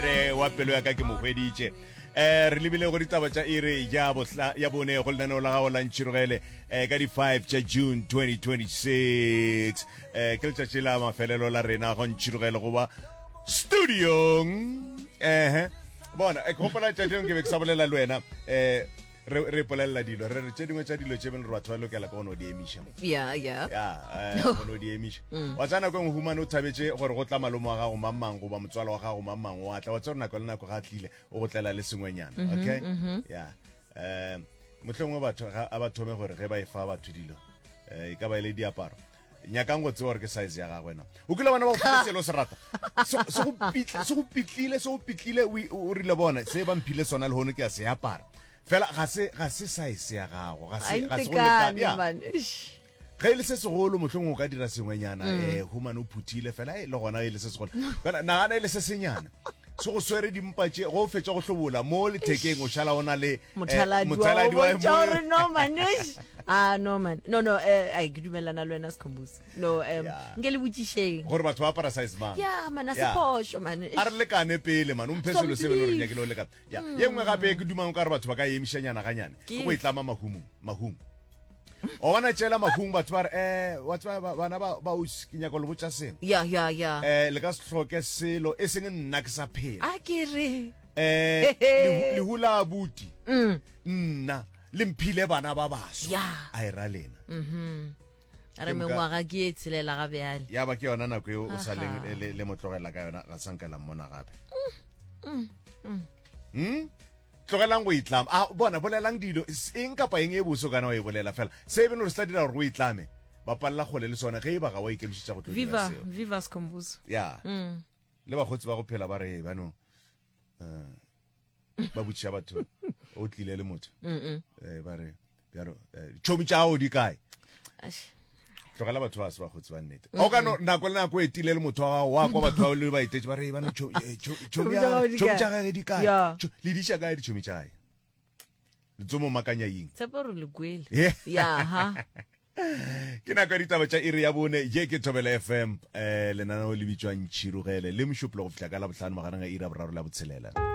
Re wa pelo ya ka ke mo hweditše. Eh re lebile go ditaba tša iri ya bohla ya bone go lenaneo la gago la Ntšhirogele eh ka di 5 tša June 2026. Eh ke letšatši la mafelelo la rena go Ntšhirogele go ba studiong. Eh bona eh, ke gopola tšatši lengwe ke be ke sa bolela le wena eh re re ipolelela dilo re re tše dingwe tša dilo tše beng re batho ba lokela ke go no di emiša mo ya ya ya eh, go no di emiša mm. wa tsaya nako e nngwe humane o thabetše gore go tla malome wa gago mang mang goba motswalo wa gago mang mang wa tla wa tsaya gore nako le nako ga a tlile o go tlela le sengwenyana mm-hmm, okay mm-hmm. ya um mohlomongwe batho a ba thome gore ge ba e fa batho dilo um e ka ba e le diaparo nyakang go tseba gore ke size ya gagwe na o kile bona ba go file selo se rata se go pitlile se go pitlile o rile bona se ba mphile sona le hono ke a se apara fela ga se ga se size ya gago ga se ga se go lekane ge e le se segolo mohlong o ka dira sengwenyana um humane o phuthile fela e le gona e le se segolo fela nagana e le se senyana se go swere dimpa tše go fetša go hlobola mo lethekeng o šala o na le eh, mothaladi wa gore no man ah no man no no eh ai ke dumelana le wena Skhumbuzo no um nke le botšišeng gore batho ba apara size mang ya man a se phošo man a re lekane pele man o mphe selo se beno re nyakile o lekana ya ye nngwe gape ke dumang ka re batho ba ka emišanyana ganyane ke go itlama mahumong mahung o bona tšela mahung batho ba re um wa tseba bana ba ba ausi ke nyaka le botša sengwe ya ya ya um le ka se hloke selo e seng nna ke sa phela a ke re um lehu la abuti mm. nna le mphile bana ba baswa a e ra lena mm-hmm. re mengwaga ke e tshelela ga bjale ya ba ke yona nako eo o sa leng le mo tlogela ka yona ga sanka la mmona gape mm, mm. Hmm? tlogelang go itlama a bona bolelang dilo eng kapa eng e bose o kana wa e bolela fela se e bene gore se tla dira gore o itlame ba palela kgole le sona ge e ba ga wa ikemišetša go tlo dira seo viva Skhumbuzo ya mm. le bakgotsi ba go phela ba re bano eh, ba botšiša batho o tlile le motho eh, ba re bjalo eh, tšhomi tša gago di kae tlogela batho ba se bakgotsi ba nnete o ka no nako le nako e tile le motho wa gago wa kwa batho ba le ba etetše ba re bano tšhomi tša gage di kae le diša kae ditšhomi tša gae letsomo makanya eng tshepo re le kwele ya ha ke nako ya ditaba tša iri ya bone ye ke thobela fm um lenaneo le bitšwang tšhirogele le mošupolo go fihla ka labohlano magareng ga iri ya boraro la botshelela.